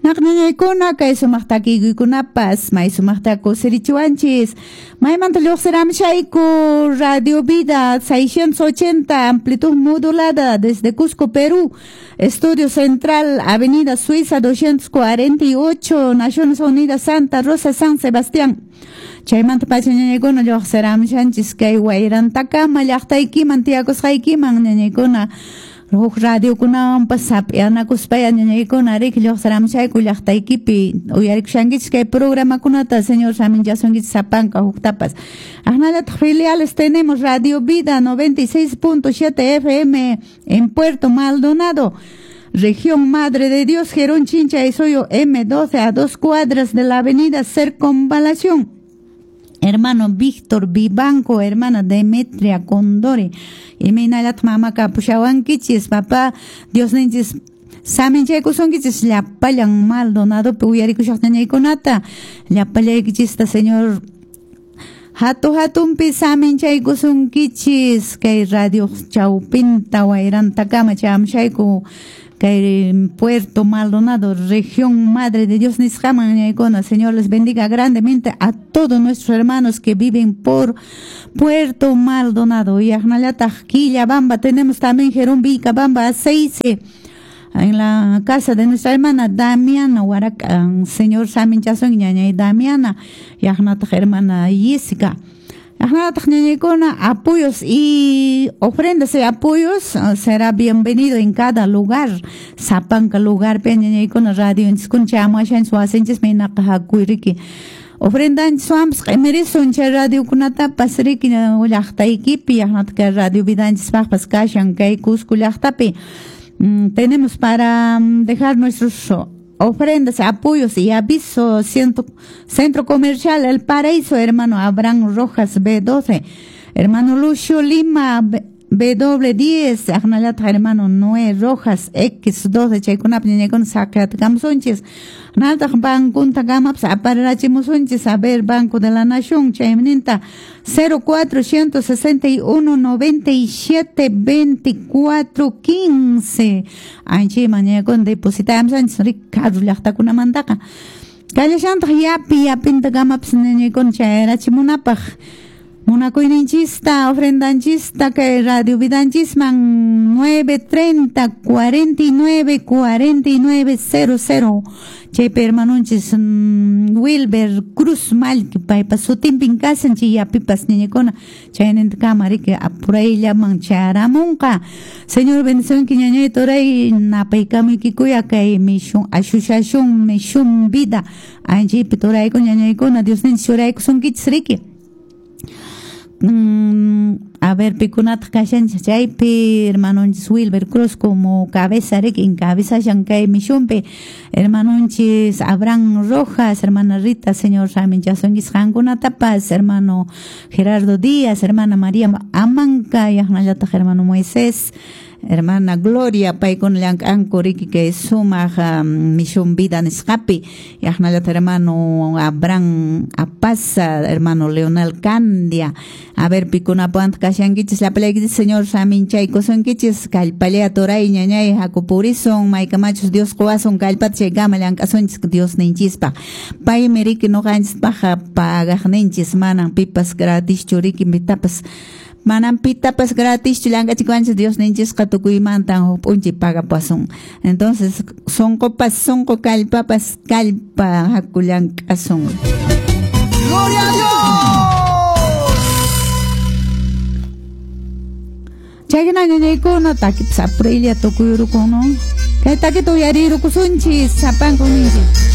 Naqñañaykuna kay sumaq takiykunapas may sumaqta kusirichiwanchis. Maymanta lluqsiramshayku Radio Vida 680 amplitud modulada desde Cusco, Perú. Estudio Central, Avenida Suiza 248, Naciones Unidas, Santa Rosa, San Sebastián. Chaymanta pacha ñañaykuna lluqsiramshanchis kay wayrantakama llaqtaykiman tiyakusqaykiman ñañaykuna huk radiokunawanpas sap'yanakuspaya ñañaykuna riki lluqsiramshayku llaqtaykipi uyarikushankichis kay programakunata señor saminchasunkichis sapanka huktapas. Aqnallataq filiales tenemos Radio Vida 96.7 FM en Puerto Maldonado, Región Madre de Dios, Gerón Chincha y Soyo M12 a 2 cuadras de la avenida Circunvalación. Hermano Víctor Vivanco, hermana Demetria Condori. Imaynallataq mamaka pushawankichis, papá Diosninchis saminchaykusunkichis llapallan Maldonadopi uyarikushaq ñañaykunata, llapallaykichista Señor hatu hatunpi saminchaykusunkichis kay radio chawpinta wayrantakama chamushayku kay Puerto Maldonado, región Madre de Dios nisqaman ñañaykuna. Señor les bendiga grandemente a todos nuestros hermanos que viven por Puerto Maldonado. Y aqnallataq Quillabamba tenemos también Jerón Vilcabamba Aceite en la casa de nuestra hermana Damiana Huaraca. Señor saminchasun ñañay Damiana y aqnataq hermana Jessica. Aqnallataq ñañaykuna apoyos y ofrendas y apoyos será bienvenido en cada lugar. Sapanka lugar pe ñañaykuna radio inchiskuna chamuashanchis wasinchis maynaqa hakuyriki. Ofrendanchiswanpas q'imirisun chay radiokunatapas riki llaqtaykipi aqnataq kay radio vidanchispaqpas kashan kay Cusco llaqtapi. Tenemos para dejar nuestros ofrendas, apoyos y avisos. Centro Comercial El Paraíso, hermano Abraham Rojas B12, hermano Lucio Lima W10, aqnallataq hermano Noé Rojas X12, chaykunapi ñañaykuna saqiyatakamusunchis. Naltaq bankunta kamapas aparirachimusunchis, a ver, Banco de la Nación, chayninta 0461 97 24 15. Anchayman ñañaykuna depositamusunchis Ricardo llaqtakunamantaqa. Kallashantaq yapi yapinta kamapas ñañaykuna chayarachimunapaq. Munakuyninchista, ofrendanchista kay radio vidanchisman 930 49 49 00. Chaypi hermanunchis Wilber Cruz Mallki paypa sutinpin kashan chay yapipas ñañaykuna chaynintakama riki apurayllaman chayaramunqa. Señor bendicionki ñañay turay napaykamuykikuya kay mishun ashushashun mishun vida anchaypi turayku ñañaykuna Diosninchis churaykusunkichis riki. A ver, pikunataq kashanchis chaypi hermanunchis Wilber Cruz como cabeza riki encabezashan kay mishunpi, hermanunchis Abraham Rojas, hermana Rita, señor saminchasunkichis qankunatapas, hermano Gerardo Díaz, hermana María Amanca, aqnallataq hermano Moisés, hermana Gloria, paykuna llank'anku riki kay sumaq mishun vida nisqapi, aqnallataq hermano Abraham Apaza, hermano Leonel Candia. A ver, pikunapuwantaq kashankichis llapallaykichis señor saminchaykusunkichis kallpallaya turay ñañay hakupurisun maykamachus Dios quwasun kallpata chaykama llank'asunchis Diosninchispaq. Paymi riki ñuqanchispaqqa pagaqninchis, manan pipas gratischu riki pitapas manan pitapas gratischu llank'achikuwanchis Diosninchisqa tukuymantan huk p'unchay pagapasun. Entonces sunqupas sunqu kallpapas kallpa haku llank'asun. ¡Gloria a Dios! Chayna ñañaykuna takipas apuraylla tukuyurukun, no? Kay takita uyarirukusunchis sapanku ninchis.